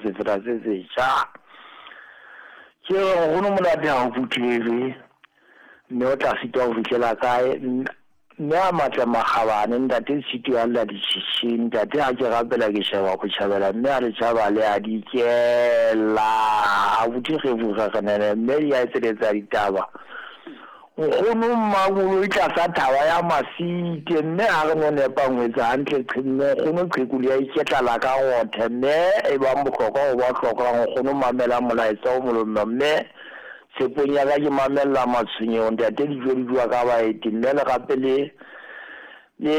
Sefela se setjha. Ke re nkgono monate ha o phuthelwe mme o tla sitwa ho fihlela kae? Mme a matle makgabane ntate Tshitwe a lla ditjhitjhi ntate ha ke rapela ke sheba botjhabela mme a le tjhaba le a dikela abuti kgefu kgekgenene mme di a etseletsa ditaba. Nkgono Mmakoloi tlasa thaba ya Masite mme ha re no nepa ngwetsa hantle mme nkgono qheku le ya iketla la ka rothe mme e bang bohlokwa ho ba hlokang nkgono mamela molaetsa o molomo mme tshepong ya ka ke mamella matshwenyeho ntate dijo di jowa ka baeti mme le gape le le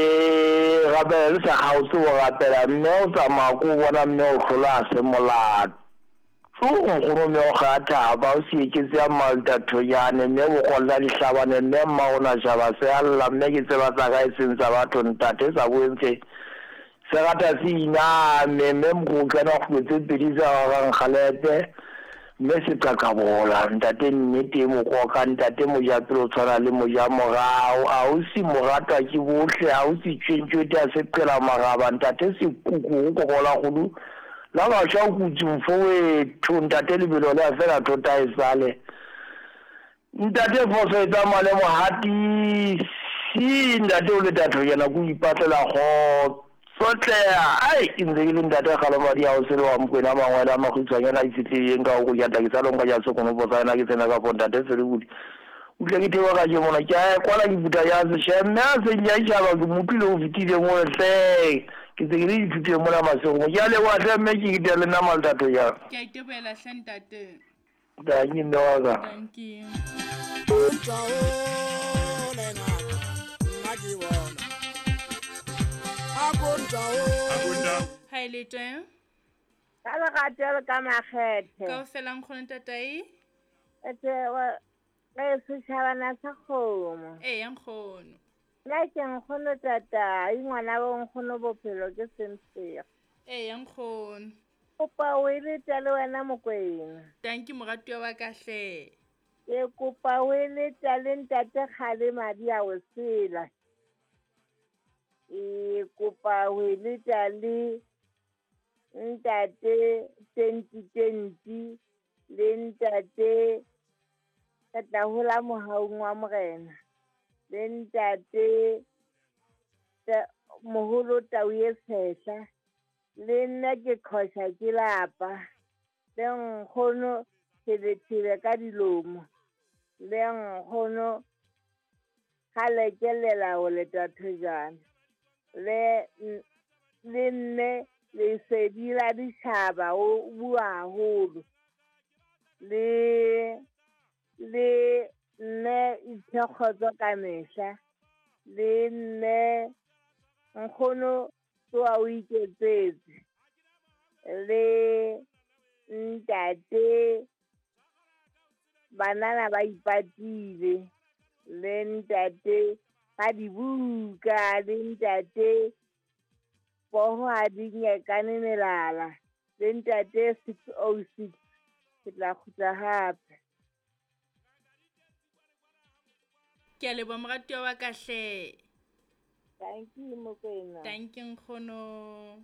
rapela le sa kgaotse ho rapela mme o tsamaya ko bona mme o hlola ha se molato. Tso nkgono mme o kga thaba o se eketse ya malta thonyane mme bokolla dihlabane mme mma o na shaba se a lla mme ke tseba tsa ka e seng tsa batho ntate sa boentse se rata se iname mme mokgotlana kgutlo tse pedi tsa rarang kgalepe mme se qaqabola ntate nnete e mokoka ntate mojapele o tshwana le mojamorao a o se moratwa ke bohle a o se tšwentšwete a se qela maraba ntate sekuku go kokola kgodu la bašwa o kutse mfowetho ntate lebelo le a fela thota e sale ntate phoso e tsamaya le mohatisi ntate o le tathonyana ko ipatlela kgotsotleha ai ke ntse ke le ntate kgalomadi a o sele wa mokwena mangwele a makgutshwanyana a itshetlehileng ka go jata ke sa lonka ja sekonopo sa yona ke tsena ka fo ntate felebodi o tle ke thewa ka je mona ke a kwala ke puta ya seshe mme a seng ya itšhaba ke mo utlwile o fetile mo hle ke tse ke le dithuteng mona masego ke a leboga hle mme ke kete le nna maltato jang. Ke a iteboela hle ntate. Dankie mme wa ka. Dankie. Ha e le teng? Ka lerato le ka makgethe. Kaofela nkgono ntatai. Ete re setjhabana sa kgomo. Eya nkgono. Nna ke nkgono tatai ngwana bo nkgono bophelo ke semphego. Eya nkgono. Kopa o e leta le wena Mokwena. Dankie moratuwa wa ka hle. Ke kopa o e leta le ntate Kgale madi a o sela. E kopa o e leta le ntate 2020 le ntate ka tla hola mohaung wa morena le ntate moholo tau e tshehla le nna ke qhosha ke lapa le nkgono thebethebe ka dilomo le nkgono kgale ke lela ho leta thojana le nne lesedi la ditjhaba o bua haholo le nne ithekgotso ka mehla le nne nkgono tsoa o iketsetse le ntate banana ba ipatile le ntate ga dibuka le ntate poho ha di nyekane melala le ntate 606 ke tla kgutla hape. Ke a leboha moratuwa wa ka hle. Thank you Mokwena. Thank you nkgono.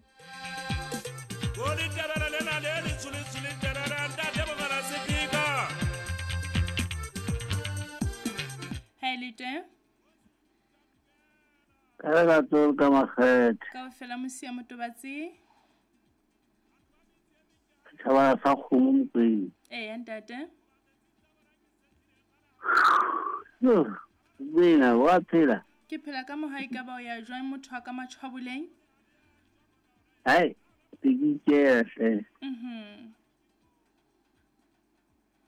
Ha e le teng? Ka lerato ka makgethe. Kaofela mosia motobatsi. Setjhaba sa kgomo Mokwena. Eya ntate. Mokwena wa phela. Ke phela ka mohae ka ba o ya jwang motho wa ka matshwaboleng? Hai, ke ikela hle.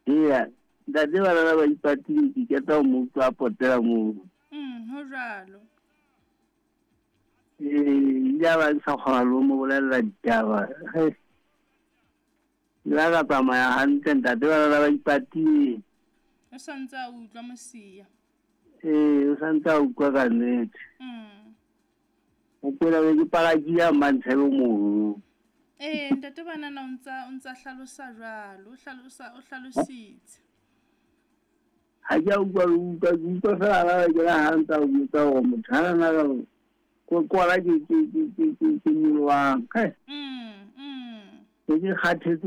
Eya, ntate bana ba ipatile ke keta ho mo utlwa a potela moo. Ho jwalo. Ee, ile ba sa kgona le ho mo bolella ditaba. Ile ka tsamaya hantle ntate bana ba ipatile. O sa ntse a utlwa mosia. Ee, o sa ntse a utlwa ka nnete. Mokwena be ke palakile a Mantshebe mono. Ee, ntate banana o ntsa hlalosa jwalo, o hlalositse. Ha ke a utlwa le utlwa, ke utlwa fela ha ke la ha ntsa o botsa hore motho ha na ka ko kwala ke nyolohang. Ne ke kgathetse.